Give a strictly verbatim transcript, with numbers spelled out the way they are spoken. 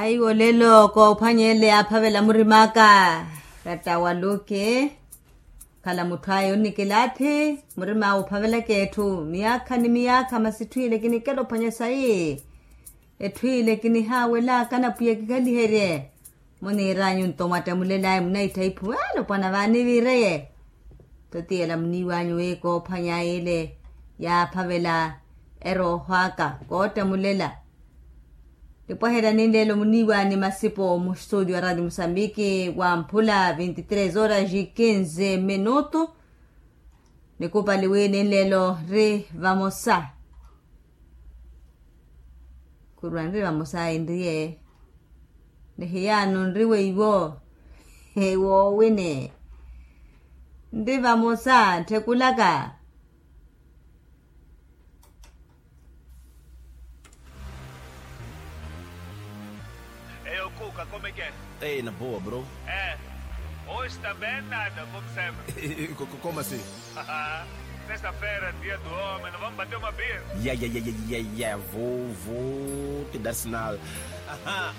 Aiwo lelo koophwanya ele yaaphavela murim'aka. Ratta waluke. Khala mutthu aya onnikilaathi. Murim'awe ophavelaka etthu miyaakha ni miyaakha masi etthu ile kinikela ophwanya sayi. Etthu ile kinihaawelaka na pwiya kikhaliherye. Muniir'anyu nto mwattamulel'aya munaittha iphuwelo pwana vaanivireye. Totiyela muniiw'anyu wi koophwany'aya ile yaaphavela erooho aka koottamulela. Nipwaherya ninleelo muniiw'ani masipo mu studio a radio musambiki wamphula vinti tres horas e kinze minutu. Nikupali wi ninleelo nri vamosa. Khurwa nri vamosa enriye. Ni hiyaano nri weiwo. Woowini. Nri vamosa ntthe kulaka. Eyo kuka komekeni. Ei na boa bro. Hoje também nada como sempre. Como assim? Sexta-feira dia do homem, não vamos bater uma beer? Ya ya ya ya ya ya vou vou te dar sinal. Aham.